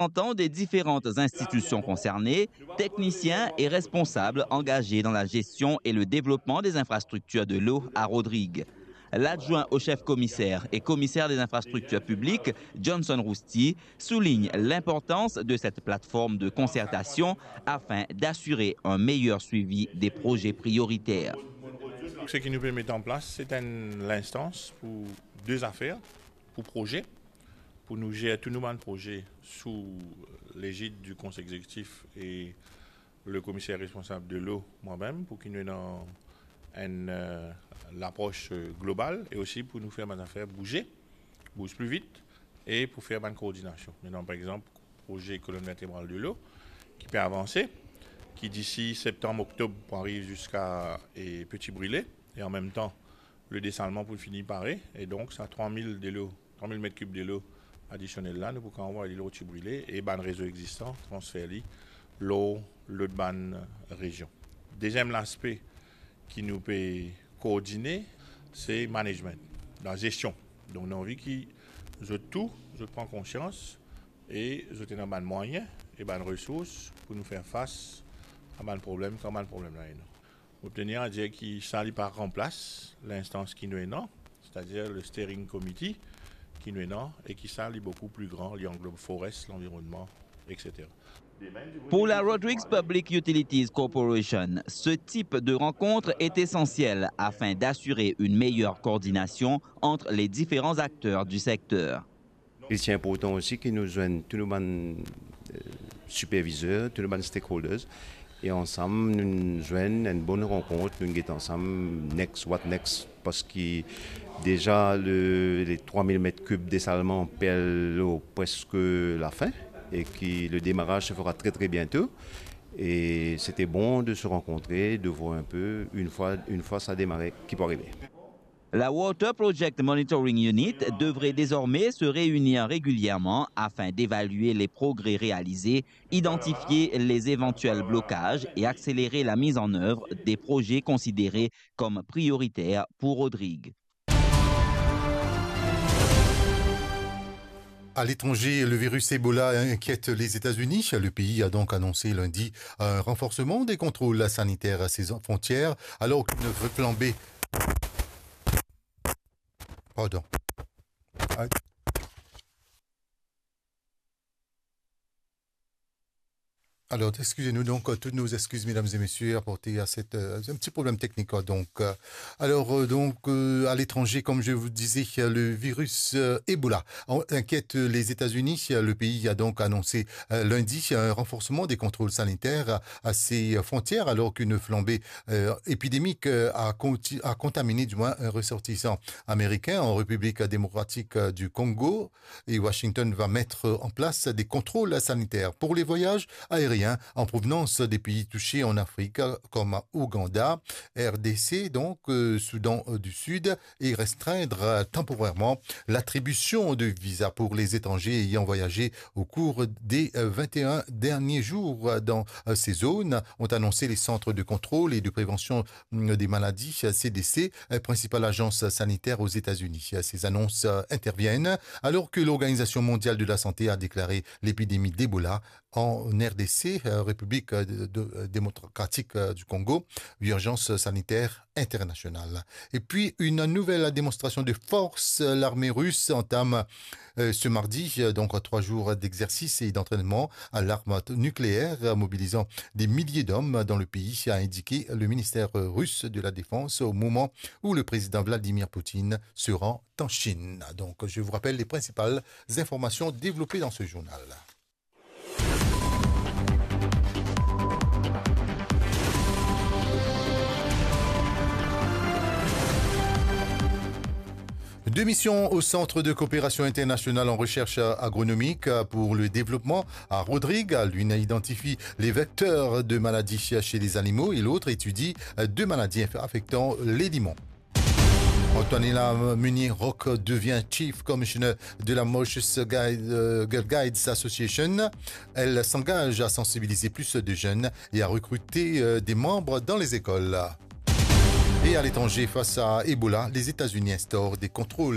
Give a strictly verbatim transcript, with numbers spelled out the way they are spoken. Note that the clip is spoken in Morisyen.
représentants des différentes institutions concernées, techniciens et responsables engagés dans la gestion et le développement des infrastructures de l'eau à Rodrigues. L'adjoint au chef commissaire et commissaire des infrastructures publiques, Johnson Rousty, souligne l'importance de cette plateforme de concertation afin d'assurer un meilleur suivi des projets prioritaires. Seki nou pe met an plas, se enn linstans pou de zafer, pou proze, pou nou zer tou nou bann proze sou lezid di Konsey Egzekitif e le komiser responsab de l'eau, mwa mem, pou ki nou ena enn, eh, lapros, eh, global e osi pou nou fer bann zafer bouze, bouz pli vit e pou fer bann koordinasion. Mintnan, par exanp, proze kolonn vertebral de l'eau ki pe avanse, ki disi septanm, oktob pou ariv ziska, eh, Petit Brûlé, e an mem tan, le desalman pou fini pare, e donk sa trwa mil delo, trwa mil met kib delo adisionel la, nou pou kapav anvway li lor Petit Brûlé e bann rezo egzistan, transfer li lor lot bann rezion. Deziem laspe ki nou pe koordine, se management, la gestion. Donk, nou anvi ki zot tou, zot pran konsians e zot ena bann mwayin e bann resours pou nou fer fas a bann problem, kan bann problem la ena. Mo pe tenir a dir ki sa li pa ranplas linstans ki nou ena, setadir le steering committee ki nou ena, e ki sa li boukou pli gran, li anglob forest, lanvironnman, et cetera. Pour la Rodrigues Public Utilities Corporation, ce type de rencontre est essentiel afin d'assurer une meilleure coordination entre les différents acteurs du secteur. Li ti inportan osi ki nou zwenn tou nou bann, eh, sipervizer, tou nou bann stakeholders, e ansam nou zwenn enn bonn rankont, nou get ansam next, what next, parski deza le, le trwa mil met kib desalman pe al lor preske lafin, e ki le demaraz se fera tre, tre biento. E sete bon de se rankontre, de voir un peu, une fois, une fois sa demare, ki pou arive. La Water Project Monitoring Unit devrait désormais se réunir régulièrement afin d'évaluer les progrès réalisés, identifier les éventuels blocages et accélérer la mise en œuvre des projets considérés comme prioritaires pour Rodrigues. À l'étranger, le virus Ebola inquiète les États-Unis. Le pays a donc annoncé lundi un renforcement des contrôles sanitaires à ses frontières, alors qu'une flambée... Pardon. Aïe. Alors, excusez-nous, donc, euh, toutes nos excuses, mesdames et messieurs, apportées à cette, euh, un petit problème technique, quoi. Donc, euh, alors, euh, donc, euh, à l'étranger, comme je vous disais, euh, le virus, euh, Ebola en-, inquiète les États-Unis. Le pays a donc annoncé, euh, lundi un renforcement des contrôles sanitaires à, à ses frontières, alors qu'une flambée, euh, épidémique, euh, a conti-, a contaminé, du moins, un ressortissant américain en République démocratique, euh, du Congo. Et Washington va mettre en place des contrôles sanitaires pour les voyages aériens en provenance des pays touchés en Afrique, comme Ouganda, R D C, donc, euh, Soudan, euh, du Sud, et restreindre, euh, temporairement l'attribution de visas pour les étrangers ayant voyagé au cours des, euh, vingt et un derniers jours, euh, dans, euh, ces zones, ont annoncé les centres de contrôle et de prévention, mm, des maladies, euh, C D C, euh, principale agence sanitaire aux États-Unis. Ces annonces, euh, interviennent alors que l'Organisation mondiale de la santé a déclaré l'épidémie d'Ebola en R D C, euh, République, euh, de, de, euh, démocratique, euh, du Congo, urgence sanitaire internationale. Et puis, une nouvelle démonstration de force. L'armée russe entame, euh, ce mardi, euh, donc trois jours d'exercice et d'entraînement à l'arme nucléaire, mobilisant des milliers d'hommes dans le pays, a indiqué le ministère russe de la Défense au moment où le président Vladimir Poutine se rend en Chine. Donc, je vous rappelle les principales informations développées dans ce journal. Deux missions au Centre de coopération internationale en recherche agronomique pour le développement à Rodrigues. L'une identifie les vecteurs de maladies chez les animaux et l'autre étudie deux maladies inf-, affectant les limons. Antonella Munier-Rock devient Chief Commissioner de la Mauritius Guide, euh, Girl Guides Association. Elle s'engage à sensibiliser plus de jeunes et à recruter, euh, des membres dans les écoles. Et à l'étranger, face à Ebola, les États-Unis instaurent des contrôles